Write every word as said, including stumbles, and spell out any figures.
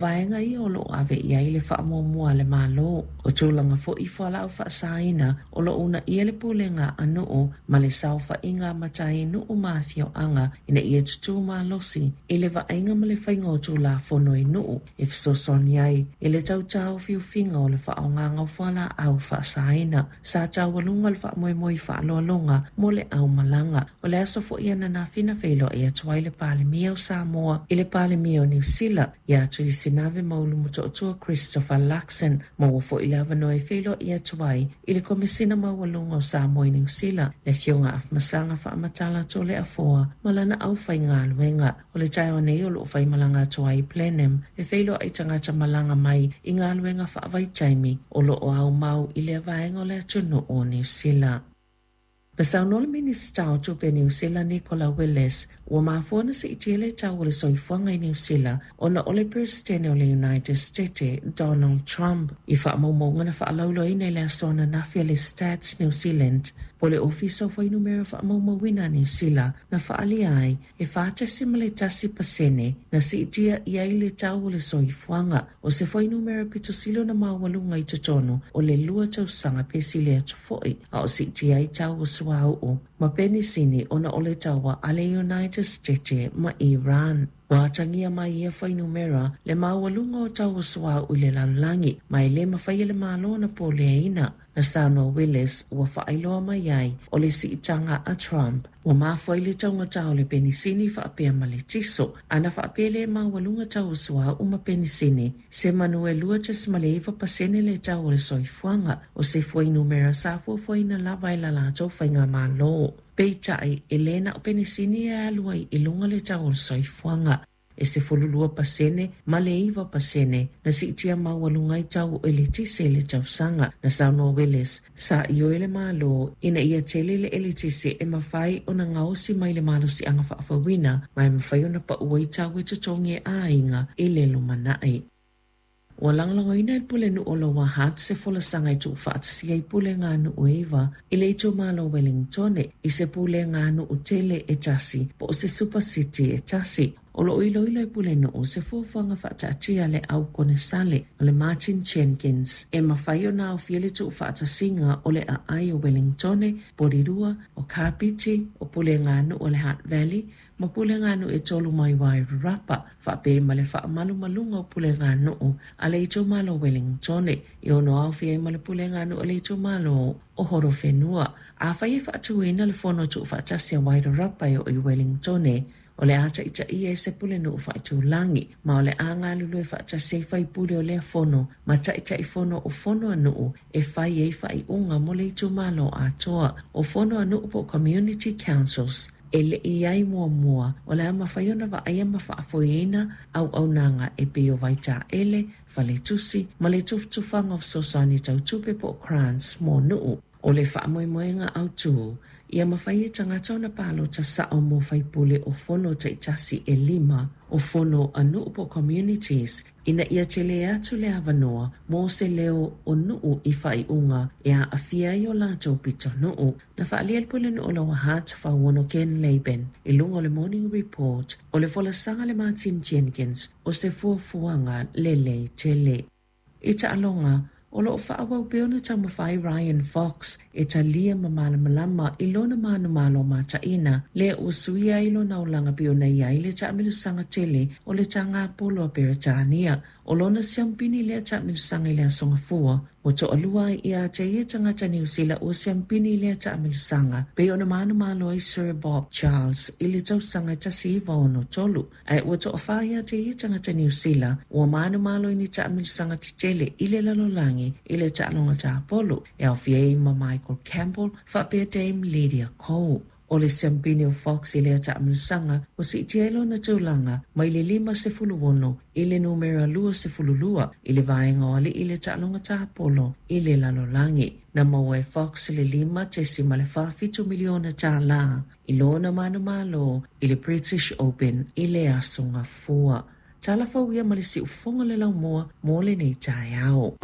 Vaega ia o loo ave i ai le faamuamua a le Malo. O tulaga foi fualaau faasaina o loo uunaia le pulega a nuu ma le saofaiga a matai nuu ma afioaga ina ia tutū malosi i le vaaiga ma le faiga o Tulafono i nuu e fesoasoani ai i le tau taofiofiga o le faaaogaina o fualaau faasaina. Sa taualuga le faamoemoe i faaaloaloga mo le aumalaga. O le aso foi ananafi na feiloai atu ai le Palemia o Samoa i le Palemia o Niu Sila ia Tuisinave Maulu Motootua Christopher Luxon. Maua foi le avanoa e feiloai atu ai i le Komesina Maualuga o Samoa i Niu Sila, le Afioga Afamasaga Faamatala Toleafoa ma lana aufaigaluega. O le taeao nei o loo faimalaga atu ai i Blenheim e feiloai tagata malaga mai i galuega faavaitaimi o loo aumau i lea vaega o le atunuu o Niu Sila. Na saunoa le Minisita o Tupe Niu Sila Nicola Willis ua mafua ona siitia le tau o le soifuaga i Niu Sila ona o le Peresetene o le United States Donald Trump. I faamaumauga na faalauiloaina i le aso ananafi a le Stats New Zealand po o le Ofisa o Fuainumera Faamaumauina a Niu Sila na faaalia ai e fa tesimal tasi pasene na siitia i ai le tau o le soifuaga, o se fuainumera pito sili ona maualuga i totonu o le lua tausaga pe sili atu foi, a o siitia ai tau o suauu ma penisini ona o le taua a le United States ma Iran. Ua atagia mai ia fuainumera le maualuga o tau o suauu i le lalolagi ma e le mafai e le Malo ona puleaina. Na saunoa Willis ua faailoa mai ai o le siitaga a Trump ua mafua ai le taugata o le penisini faapea ma le tiso. Ana faapea le maualuga tau o suauu ma penisini, semanu e lua tesimal iva pasene le tau o le soifuaga, o se fuainumera sa fuafuaina lava e la latou faigamalo. Peitai, e le na o penisini e alu ai i luga le tau o le soifuaga. E sefululua pasene ma le iva pasene na siitia maualuga ai tau o eletise i le tausaga. Na saunoa Willis sa ioe le Malo ina ia tele le eletise e mafai ona gaosi mai le malosiaga faafouina ma e mafai ona pau ai tau e totogi e aiga i le lumanai. Ua lagolagoina e le Pulenuu o Lower Hutt se folasaga e tuufaatasia i pulega nuu e iva i le itumalo o Wellingtone i se pulega nuu tele e tasi po o se super city e tasi. O loo iloilo e Pulenuu se fuafuaga faataatia le au konesale o le Martin Jenkins e mafai ona aofia le tuufaatasiga o le aai o Wellingtone, Porirua, o Kapiti, o pulega nuu o le Hutt Valley ma pulega nuu e tolu mai Wairarapa, faapea ma le faamalumaluga o pulega nuu a le itumalo o Wellingtone e ono aofia ai ma le pulega nuu a le itumalo o Horowhenua. Afai e faatuina le fono tuufaatasi a Wairarapa e oo i Wellingtone, o le a taitaia e se pulenuu faaitulagi ma o le a galulue faatasi ai faipule o lea fono ma taitaifono o fono a nuu e fai ai faaiuga mo le itumalo atoa. O fono a nuu po o community councils e le i ai muamua, o le a mafai ona vaaia ma faafoeina auaunaga e pei o vaitaele, faletusi ma le tufatufaga o fesoasoani tau tupe po o grants mo nuu. O le faamoemoega autū ia mafai e tagata ona palota sao mo faipule o fono taitasi e lima o fono a nuu po communities ina ia tele atu le avanoa mo se leo o nuu i faaiuga e aafia ai o latou pitonuu. Na faaalia le Pulenuu o Lower Hutt Fauono Ken Laban i luga o le Morning Report o le folasaga le Martin Jenkins o se fuafuaga lelei tele. I taaloga, o loo faaauau pea ona taumafai Ryan Fox e talia ma malamalama i lona manumalo mataina lea ua suia ai lona olaga pei ona i ai le taamilosaga tele o le tagapolo a Peretania. O lona siampini lea taamilosaga i le aso Gafua, ua toalua ai ia te ia tagata Niu Sila ua siampini i lea taamilosaga pei ona manumalo ai Sir Bob Charles i le tausaga tasi iva ono tolu, ae ua toafā ia te ia tagata Niu Sila ua manumalo i ni taamilosaga tetele i le lalolagi i le taaloga tapolo, e aofia ai ma Michael Campbell faapea Dame Lydia Ko. O le siampini o Fox i lea taamilosaga ua siitia ai lona tulaga mai le lima sefulu ono i le numera lua sefulu lua i le vaega o alii i le taaloga tapolo i le lalolagi. Na maua e Fox le lima tesimal fa fitu miliona tālā i lona manumalo i le British Open i le aso Gafua. Tala fou ia ma le siufoga le laumua mo lenei taeao.